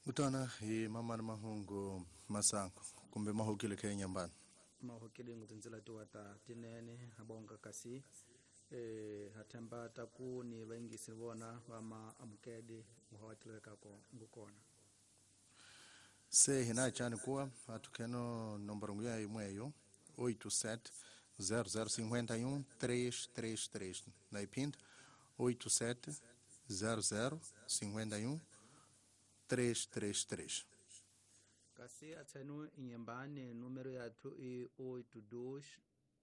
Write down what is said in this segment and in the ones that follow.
Kutana hi mamani mahungu masango kumbe mahukile khe nyambani mahukile ngutsinzela tiwata tinene abonga kasi hathemba taku ni vaingisi vona va ma amukedi nguhawatileka ko ngukona se hina chani kuwa atukheno nomboro nguya imweyo 87 0051 333 na ipinda 87 0051 333 kasi atsenu inyembane número yathu i 82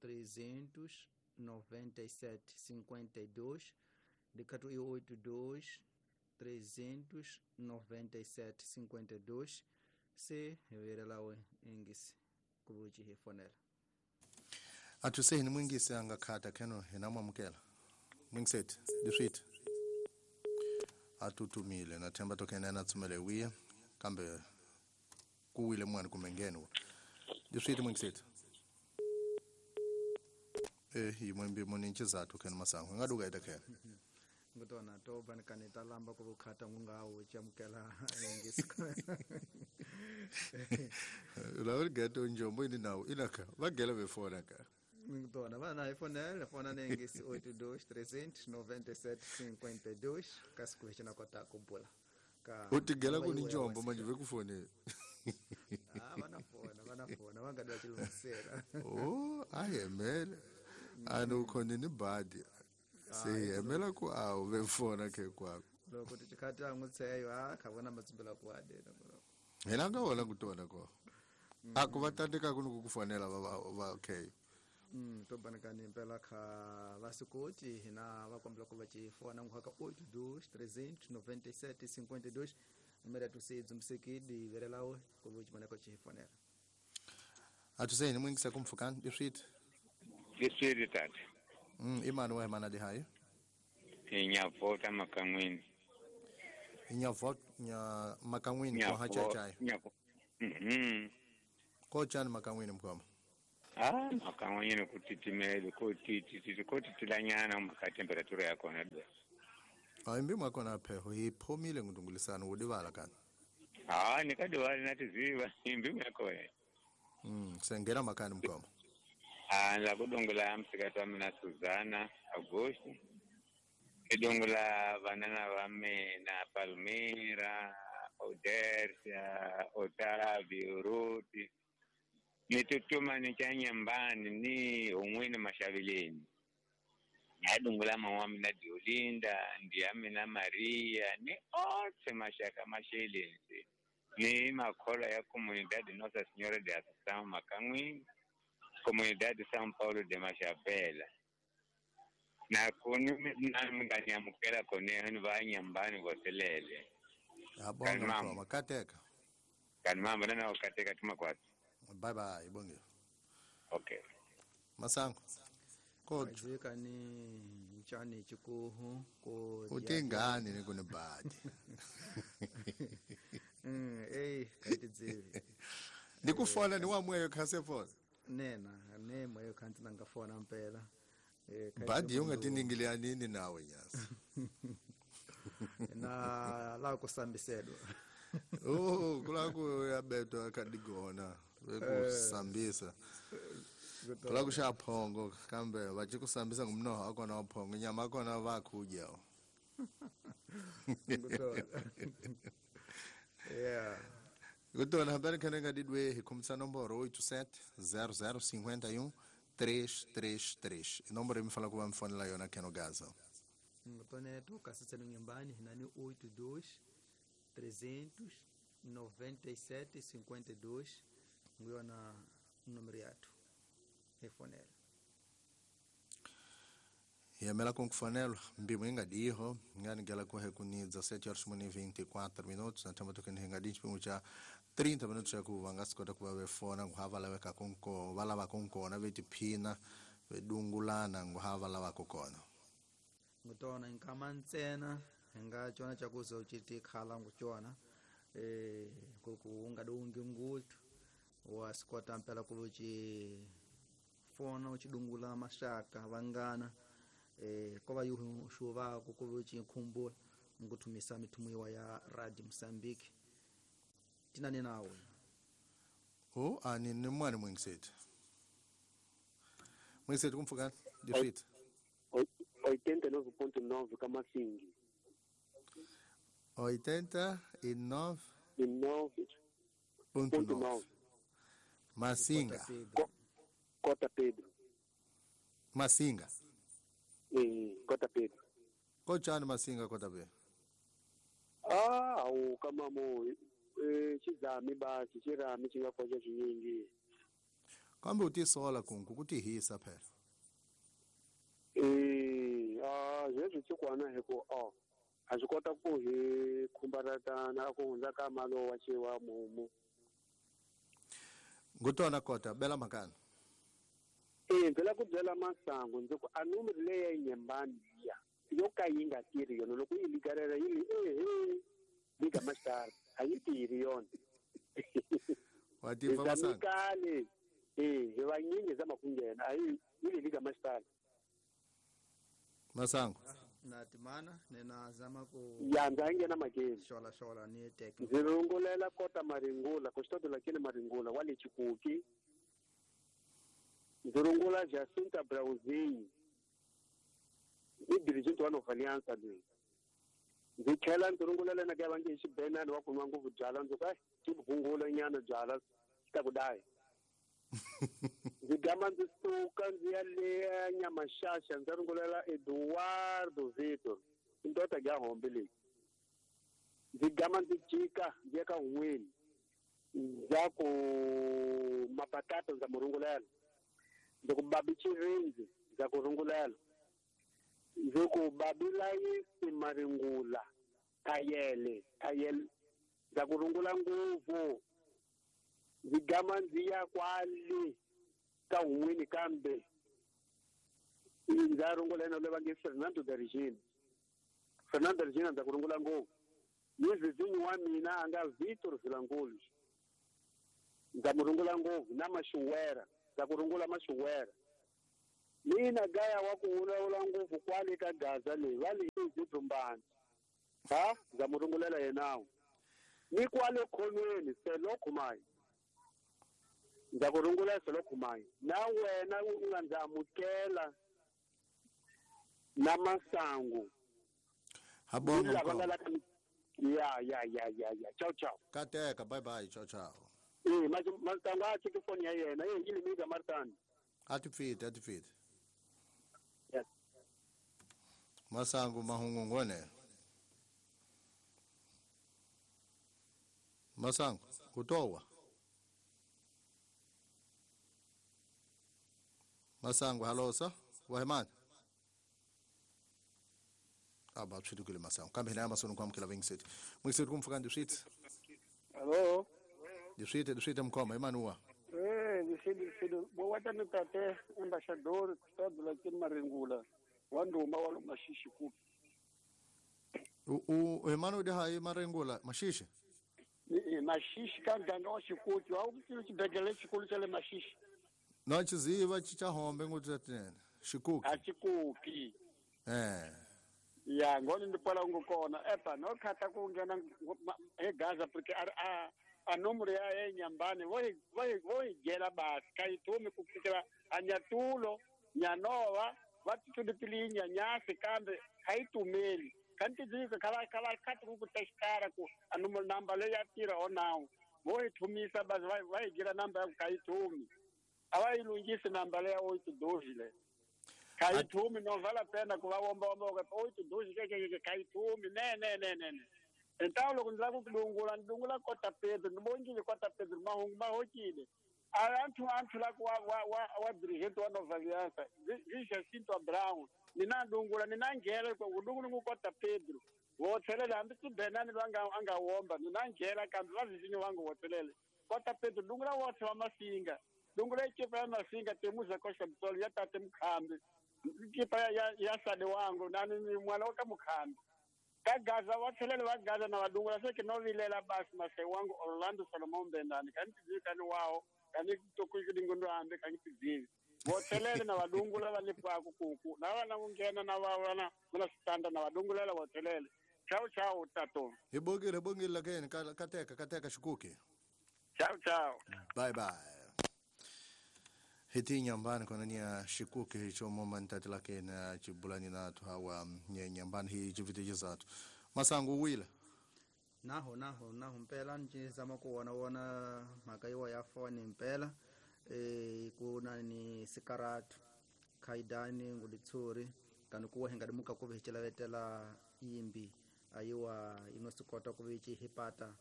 397 52 dikatu i 82 397 52 se verelawe ingisi kubuchi hifonela athu hini mwingisi angakhata kheno hina mwamukela mwingisethi diswiti atutumile na themba tokene na tsumele wiya kambe kuwile mwana kumengeni diswiti mwingisethi yimwembi muninchi zathu kheno masango ngaduka ita kheno ngutona to banikane talamba kubukhata ngungawo chamukela ingisi lawuri geto njombo ini nawo inaka vagela befona ka ngutona vana ifonela fona nengisi 82 397 52 kasi kuhechina kota kubula ka utigela kuni njombo manje vekufonela vana fona vangadwa chilungisela oh ayemele anukhona ni badi siyemela ku awu befona ke kwakho loko tichikati ngutseyo a khavona matsumbela ku adena hina nga wona kutona ko akuvatandika kuno kukufonela va okay to banikani impela kha vasikoti hina vakombela ku va chifona nguhaka 82 397 52 numero yathu seidzumbisekidi verelawe ku va chimoneko chifonela atuseni mwingisa kumfukani diswiti diswiti tata imani wa mana dihayo inyavota makan'wini inyavota nya makan'wini ko hachachayo kochani makan'wini mkhoma makan'wini kutitimele kotitilanyana maka temperatura yakona do imbi mwakona pheho hiphomile ngudungulisana udivala kana nikadivala natiziva imbi yakona sengena makani mkhoma la kudungula msikati wa mina Suzana Augusto idungula vanana va mina Palmira Odersia Otavio Ruti ni tutuma ni cha nyambani ni un'wini mashavileni nadungula mama wa mina Diolinda ndi ya mina Maria ni otse maxaka maxeleni ni makholwa ya Comunidade Nossa Senhora de Assunção Makan'wini Comunidade de São Paulo de Machavela na kuni na nganyamukela kone ni va nyambani voselele abonga mama kateka kan mama na kateka tuma kwatsi bye bye bonge okay masango kodwa kani nchani chikuhu ko utingani ni kunibadi kaitidzivi ndikufona ni wamweyo khasefona nena nemweyo khanti nangafona mpela badi ungatiningilea nini nawe nyasi na la kusambisedwa kula kuyabetwa kadigona bekusambisa kula kushaphongo kambe vachikusambisa ngumnoho akona waphongo nyama akona vakhudya yeah kutona hambani khane ngadidwe hikhumisa nomboro 87 0051 333 inomboro imifala kuva mfonela yona kheno gaza ngitoneto kasitselo nyumbani hinani 82 397 52 nguyona numero yathu efonela yamela kunkufanelwa mbimo ingadiho nganigela kuhe kuni 17 horas 24 minutos na themba tokeni hingadinchi chipimo cha 30 minutos ya kuva ngasikota kuva vefona nguhava laveka kunko valava kunkona vetiphina vedungulana nguhava lava kukona ngutona nkama ntsena hinga chona chakuzo chiti khala nguchona kuku ungadungi ngutu wasikota mpela kuvuchi fona uchidungula mashaka vangana kova yuhu shuva kukuvuchi khumbula nguthumisa mithumiwa ya Radio Mozambique Tinani nawe. O ani ni mwana mwingiseti. Mwingiseti kumfukana difit. 89.9 Kamasingi. 89.9 Masinga. Cota Pedro. Masinga. Cota Pedro. Kochani Masinga Cota Pedro? Ah, au kama mo chizami basi chirami chingakocha chinyingi. Kambe utisola kunku kutihisa phela. Zvezwi chikwana hiko a swi kota ku hi khumbaratana ku hundza ka malo wa xiwa mumu. Ngutona kota bela makana. Ndzi la ku byela Masangu ndzi ku a numero leyi ya Nyembani liya yo ka yi nga tirhi yona loko yi ligarela yi li liga masitara a yi tirhi yona. Wa tiva Masangu. Kale hi vanyingi zama ku nghena a yi li liga masitara. Masangu. Na timana nena zama ku ya ndza nghena makeni xola xola ni teke ndzi rungulela Kota Maringula ku xitoto lakini Maringula wa le Chikuki. Ndzi rungula Jacinta Brauzini i dirigent wa Nova Aliança leyi. Ndzi tlhela ndzi rungulela na ka va nge xibenani wa ku nwa ngopfu byala ndzi ku ti vhungula nyana byala xi ta ku daya. Ndzi gama ndzi suka ndzi ya le Nyamaxaxa ndzi rungulela Eduardo Vitor ndota ya hombe leyi. Ndzi gama ndzi jika ndzi ya ka N'weni ndza ku mapatata ndza mu rungulela. Ndzi ku babi Chirindzi ndza ku rungulela. Ndzi ku babi Layisi Maringula Thayele Thayele ndza ku rungula ngopfu. Ndzi gama ndzi ya kwale ka N'weni kambe ndza rungula yena loyi va nge Fernando da Regina. Fernando da Regina ndza ku rungula ngopfu. Ni vizinyi wa mina a nga Vitor Vilankulu ndza mu rungula ngopfu na Maxuwera ndza ku rungula Maxuwera. Mina gaya wa ku vulavula ngopfu kwale ka Gaza leyi va le Zidrumbani ha ndza mu rungulela yenawo. Ni kwale khonweni Selo Khumai ndza ku rungula Selo Khumai na wena u nga ndzi amukela na Masangu. Habonga. Ya ciao ciao. Kateka bye bye ciao ciao. Masangu a cheki foni ya yena yi limika Martani. Atipfite atipfite. Yes. Masangu mahungungone. Masangu kutowa. Masangu halosa wahemani. Aba tshidukile Masangu. Kambe hina masono kwamkela vingiseti. Mwingiseti kumfuka ndiswitsi. Hello. Ndiswite mkhoma Emanuwa. Ndiswite bowatani tate embaixador Custado Lakini Maringula wa nduma wa Mashishi ku. U Emmanuel de hayi Maringula Mashishi. Mashishi ka muganga wa Xikuti wa xibedhlele xikulu xa le Mashishi. No xiziva xa hombe nguthu tinene. Xikuki. A Xikuki. Ya ngoni ndi kwala ngo kona epa no khata ku nghena e Gaza porque a nomoro ya Nyambane vo hi dyela basi ka yi thumi ku fikela a Nyatulo Nyanova va titudipili Nyanyasi kambe a yi tumeli kanti dzika kava kava khati ku testara ku a nomoro namba leyi ya tirha o nawu vo hi thumisa basi va hi dyela namba ya ku ka yi thumi a va yi lunghisi namba leyi ya 82 le ka yi thumi no vala pena ku va womba womba ku 82 ke ka yi thumi ne ne ne ne Então loko ndzi lava ku dungula ndzi dungula Kota Pedro ni vongile Kota Pedro mahungu ma hokile a anthu la ku wa dirigente wa Nova Aliança vi Jacinto Brown ni na dungula ni na nghela ku dungula ngu Kota Pedro wo tlhelela hambi Tibenani loyi a nga womba ni na nghela kambe va vizinyo va nga wo tlhelela Kota Pedro dungula wotlhe wa Masinga dungula ekipa ya Masinga temuza koxa mtsolo ya tate Mukhambi kipa ya sade wangu nani ni mwana wa ka Mukhambi ka Gaza va tlhelele va Gaza na vadungula se ke no vilela basi mase wangu Orlando Solomon Bendani ka ni tizivi ka ni wawo ka ni tokuidingondo hambi ka ni tizivi vo tlhelele na vadungula va le paku kuku na vana ku nghena na va vana na switanda na vadungulela vo tlhelele Ciao ciao tato. Hi bongile bongile lakeni kateka kateka xikuki. Ciao ciao. Bye bye. Hiti nyambani kona nia xikuki hicho momantati lakeni chibulani nathu hawa nyambani hi chivitijizatu. Masangu wila. Naho naho naho mpela ncizama ku wona wona mhaka yiwa ya foni mpela ku na ni sikaratu khaidani ngulitsuri kani kuwa hi nga dimuka ku vi hi cilavetela yimbi ayiwa yi nga swi kota ku vi ci hipata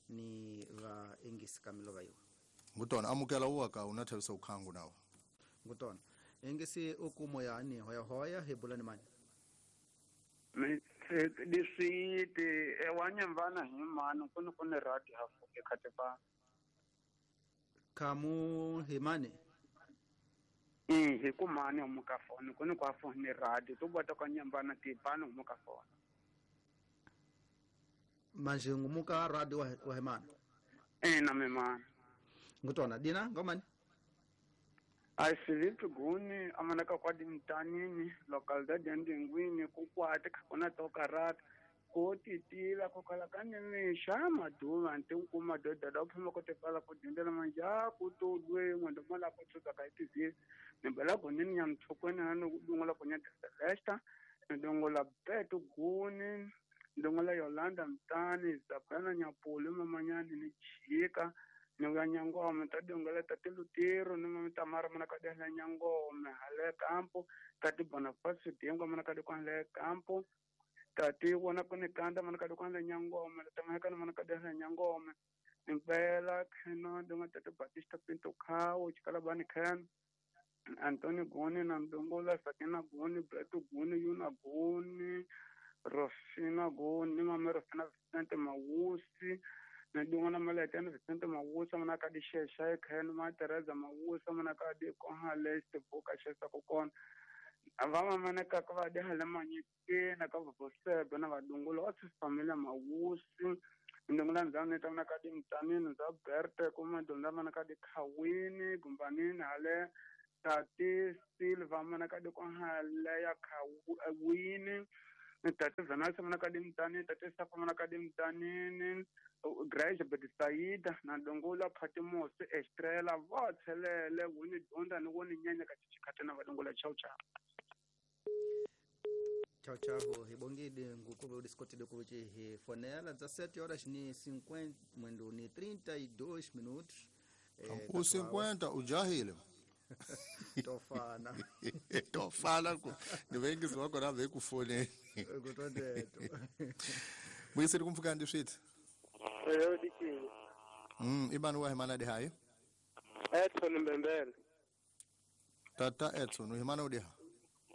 ni va ingisi ka milova yiwa ngutona amukela uwaka una thavisa ukhangu nawo ngutona ingisi ukumo yani hoya hoya hi bulani mani Liswiti ewanyamvana hi mani kuni kuni radi hafu ekhatepa khamu hi mani hi ku mani humuka foni kuni kwa foni radi to bota kwa nyambana tipani humuka foni manje ngumuka radi wa hi mani na mimani ngutona dina ngomani a Filipe Guni amanaka kwa dimtanini localidade ya Ndingwini kukwate kuna toka rata ko titila ko kala kanyamisha maduva ntinkuma doda da phuma ko tepala ko dindela manja ku to dwe ngwendo mala ko tsuka ka itizile nimbela gonini nyamthokweni na dungola ko nyata Celesta ndongola Beto Guni ndongola Yolanda Mtani Zabana Nyapulu mamanyani ni chika ni nyangoma ta dongela ta tilutiro ni mama Tamara mana ka dela nyangoma hale kampo tati Bonifacio Dingo mana ka dikwa hale kampo tati wona kuni kanda mana ka dikwa hale nyangoma tamaka mana ka dela nyangoma impela kheno donga tati Batista Pinto Khawo chikala bani khen Antonio Goni na ndongola Sakina Goni Beto Goni Yuna Goni Rosina Goni mama Rosina Vicente Mawusi na dingwana malete na Vicente Mawusa mana ka di shesha ekheno ma Teresa Mawusa mana ka di kohale stibuka shesa kokona ava mana ka ka va di hale manyike na ka vosebe na vadungulo wa familia Mawusi ndingula ndzani ta mana ka di mtanini za Berte kuma ndonda mana ka di Khawini gumbanini hale tati Silva mana ka di kohale ya Khawini tati Vanessa mana ka di mtanini tati Safa mana ka di mtanini Grace Betisaida na Dongola Patmos Estrella va tshelele wini donda ni woni nyanya ka chikhate na vadongola chau chau chau chau hi bongile ngukuve udiskotile kuve hi fonela 17 horas ni 50 mwendo ni 32 minutos u 50 ujahile tofana tofana ku ni vengisi wakona vekufoneni kutondeto muyiseli kumfuka ndi switi Eyo dikini. Ibani wa himana di hayo? Edson Mbembele. Tata Edson, uhimana udiha?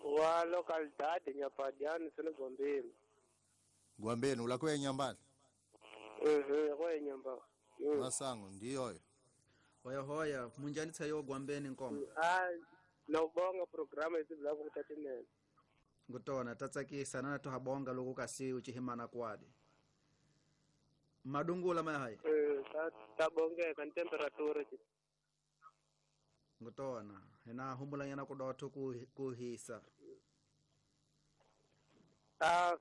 Wa localidade Nyapadiani sele Gwambeni. Gwambeni, ulakwe nyambani? Kwa nyamba. Masango, ndiyo. Hoya hoya, munjani tsayo Gwambeni nkoma? Ah, nawubonga programa izibula kutatinene. Ngutona, tatsakisa nana tuhabonga loku kasi uchihimana kwadi. Madungula maya tabongeka ni temperature ngutona hina humbulanyana kudotho kuhisa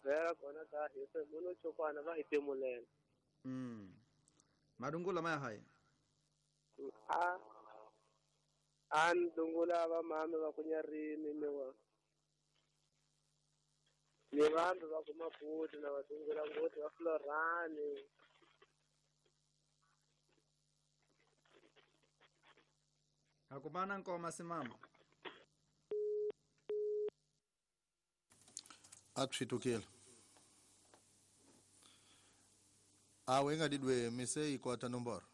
vhela kona ta hisa munhu chokwana va hi timulela madungula maya haya a ni dungula va mame va kunyarini ni wa ni vanhu va ku Maputo na va dungula ngoti va Florani. Akumana nkoma simama. Atshitukile. Awe engadidwe mise ikota nomboro.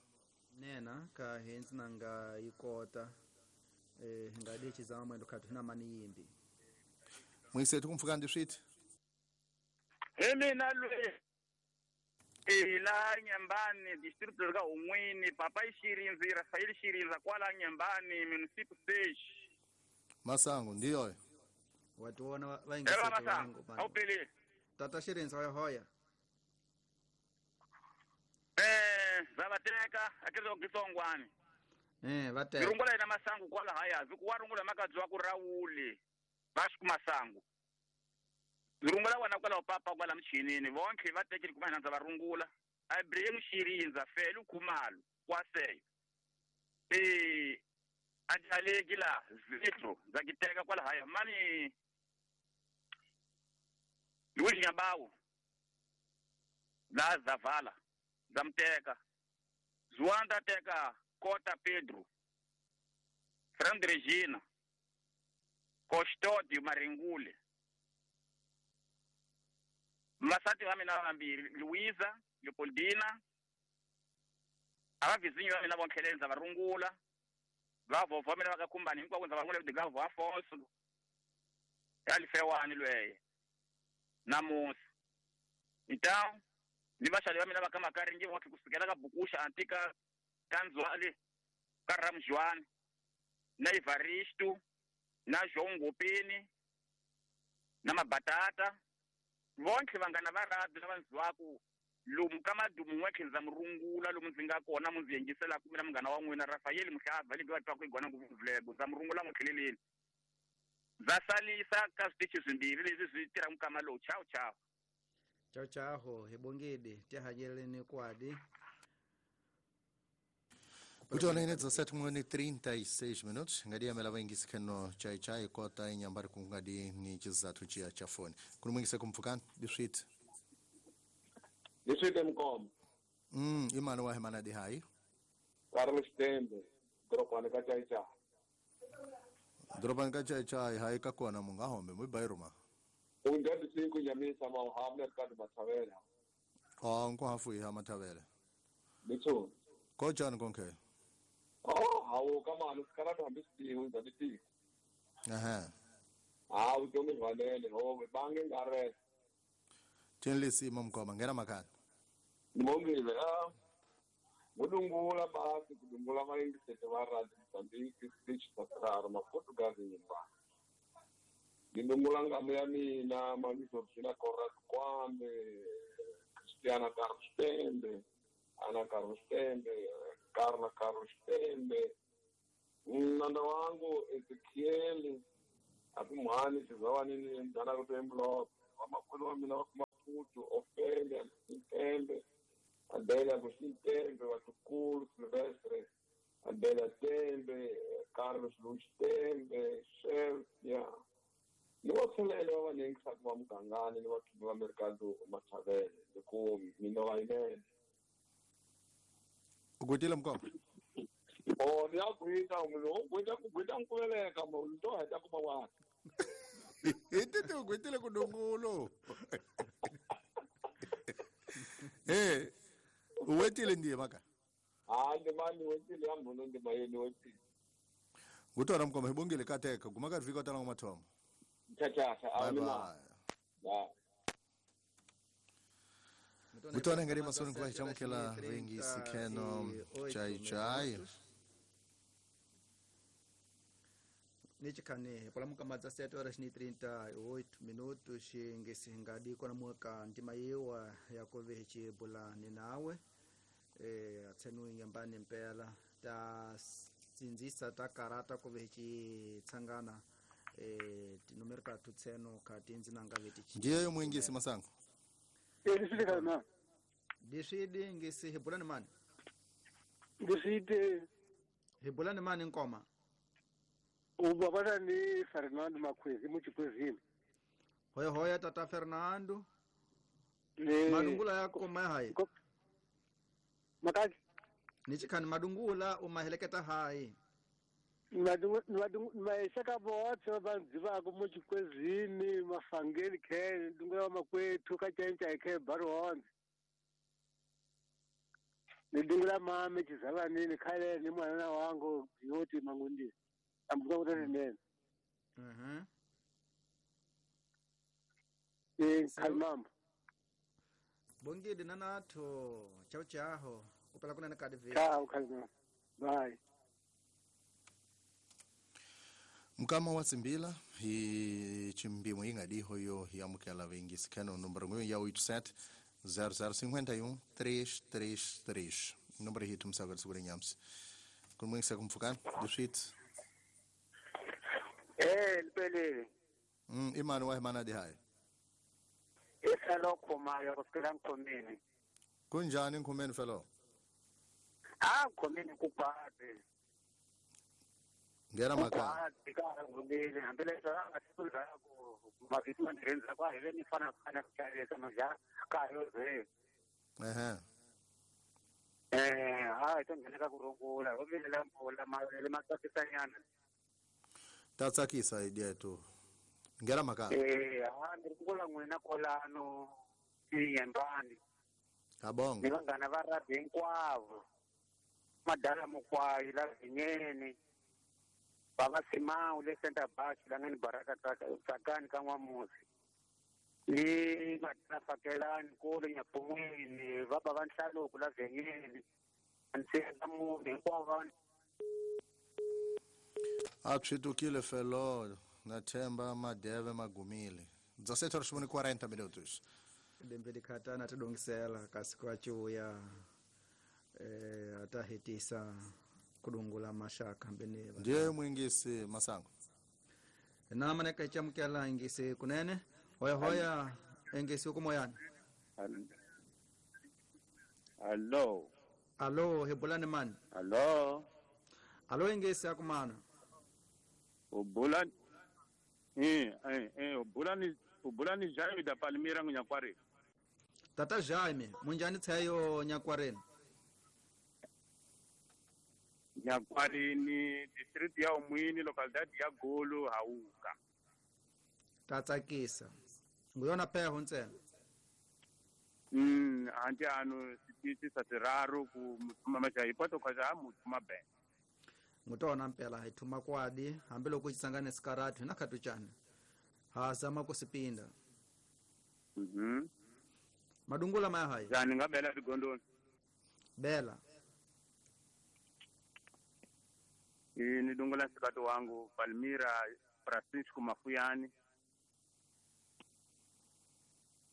Nena ka hensi nanga ikota ngadi chizama mwendo khathu hina mani yimbi. Mwisethu kumfuka ndi switi. Hemina lwe ila Nyambani distrito lika Umwini papa Ishirinzi Rafael Shirinza kwala Nyambani municipal stage. Masango ndiyo. Watu wana vaingi Masango. Au pele. Tata Shirinza hoya hoya. Vavateka akezo kisongwani. Vateka. Rungula ina masango kwala haya zikuwarungula makadzwa ku Rauli. Vasku masango. Rungula wena kwalaho papa kwala michinini vonke va tekile kuma hina ndza va rungula Abraham Shirinza Felu Khumalo kwaseyo ajaleki la zitro ndza kiteka kwala haya mani Luiz Nyabawu la Zavala ndza muteka Zuanda teka Kota Pedro Fernando Regina Custódio Maringule Masati wa mina vambirhi Luiza Leopoldina a va vizinyo va mina vonkheleni ndza va rungula va vovho mina va ka khumbani hinkwako ndza va rungula Gavo Afonso ya Lifewani lweye namusi então ni vaxavi va mina va ka Makaringi vonke kusukela ka Bukusha Antika ka Ndzwali ka Ramjuani na Evaristo na João Ngopeni na Mabatata vonke vanghana va radio lava ndziwaku lomu ka madumu n'we ndza mi rungula lomu ndzi nga kona mu ndzi yingiselaka mina munghana wa n'wina Rafael Muhlava leyi va twaku igwana ngopfu ndza mi rungula n'we tlheleleni ndza salisa ka switichi swimbirhi leswi swi tirhaka mukama lowu. Chao chao. Chao chao hibongidi tihanyeleni kwadi. Utona ine 17:36 minutos ngadi amela vaingisi kheno chai chai kota inyambari kungadi ni chizathu chia cha foni kulumwingise kumfukani diswit diswit mkom imani wa hemana di hai Carlos Tembe dropani ka chai chai dropani ka chai chai hai ka kona munga hombe mu bairuma ungadi siku nyamisa ma hamne ka mathavela ah nko hafu ya mathavela bitso ko jani konke oh hawu kama sikala hambi sidiwe ndati aha hawu tomi valele ho bange ngare thenlisi mamkoma ngena makhaya ngibongile ah ngudungula basi kudungula mayingisete va radio Mozambique speech sakraro maportugal nyimba ngidungula ngamu ya mina mamisorfina Conrad Kwame Cristiana Carlos Tembe Ana Carlos Tembe Carla Carlos Tembe mnanda wangu Ezekiel akumhani sizawanini mdana kutemblok wamakhulu wa mina wakumaputu Ofelia Tembe Adélia Agostinho Tembe Watukulu Silvestre Adélia Tembe Carlos Luiz Tembe Shelfia ni vatholele va vanengisaka va mugangani ni vathuvi va merikado Mathavele hikuva mina va yinene. U gwitile mukoma? O ni ya gwita u gwita ku gwita nkuveleka munhu to heta kuma waka hi titi u gwitile ku dungulo u wetile ndiye maka ha ndima ni wetile ya mbhuno ndima yeni wetile ngutona mukoma hi bongile kateka guma ka vhiki tala mathomo. Tchau, bye bye. Mutona ngari masoni kwa chamukela vengi sikheno chai chai. Nichikane pola mukamadza 7:38 minutos ngesi ngadi kona muka ndima yewa yakove chibula ninawe atsenu nyambani mpela ta sinzisa ta karata kove chitsangana tinomero tatu tseno kati nanga veti ndiye mwingisi masango Ndiswidi na ndiswidi ngisi hibulani mani ndiswidi hibulani mani nkoma ubabana ni Fernando Makwezi muchikwezini. Hoya hoya tata Fernando madungula yako mahai makazi nichikhani madungula umaheleketa hai maisaka botse vandzivako muchikwezini mafangeni khe ndungula wa makwethu ka chainchai khe baruhonze ni dungula mame chizavanini khale ni mwanana wangu yoti mangundi ambuka kutotinene khalimambo bongidi nanatho chao chaho kupela kunene kadi vi chao khalimambo bye. Mukama wa Tsimbila hi chimbimo yingadiho yo yamukela vengisi khano nomboro ngwe ya 87 0051 333 nomboro hitu msaka tsukure nyamsi kumwingisa kumfukana diswit lipelele imani wa himana di hai I felo Khumayo ku sukela Nkhomeni. Kunjani Nkhomeni felo? A Nkhomeni ku kwati. Ngena Ku makaya. kwati ka ha rhulile hambileswi a nga siku ku mavito ma ndzhaku ku a hi ve ni fana fana ku xavisa maja ka ha yo ze. Ehe. Ha hi to nghena ka ku rungula ho vilela mpfula mavele ma tsakisanyana. Ta tsakisa idea tu. Ngena makaya. Ha ni rungula n'wina kwalano eYembani. Kabonga. Ni vanghana va rugby hinkwavo. Madala Mukwayi la Vinyeni. Baba Simao le Center Bus la nga ni Baraka Tsakani ka N'wamusi. Ni Madala Fakelani kolo Nyapumwini, va baba Nhlaluko la Vinyeni. Ntsena munhu hinkwavo va A tswitukile felo na themba madeve magumile. 17 horas e 40 minutos. Lembe likhatana tidongisela kasi kwachuya atahetisa kudungula mashaka mbene Ndiye mwingisi Masango. Na maneka ichamukela ingisi kunene hoya hoya engisi ukumoyani. Hello. Alo hebulani mani. Hello. Alo engisi akumana. Ubulani ubulani ubulani Jaime da Palmira Nyakware. Tata Jaime munjani tsayo Nyakwareni? Nyakwareni district ya Umwini localidade ya Golo Hauka. Tatsakisa. Nguyona pheho ntsena. Anti ano sitisi sa tiraro ku mutuma machayi poto kwaza mutuma ben. Ngutona mpela hi thuma kwadi hambiloko xitsangane sikarati na khatuchana. Ha zama ku sipinda. Madungula maya hayi. Jani nga bela tigondoni. Bela. Ni dungula sikato wangu Palmira Francisco Mafuyani.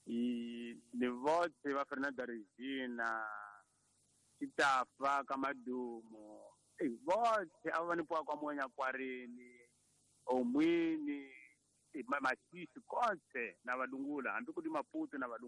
Ni vote va Fernanda Regina Chitafa Kamadumo. Vote ava ni pwa kwa monya kwareni omwini masisi kotse na vadungula hambi ku di Maputo na vadungula.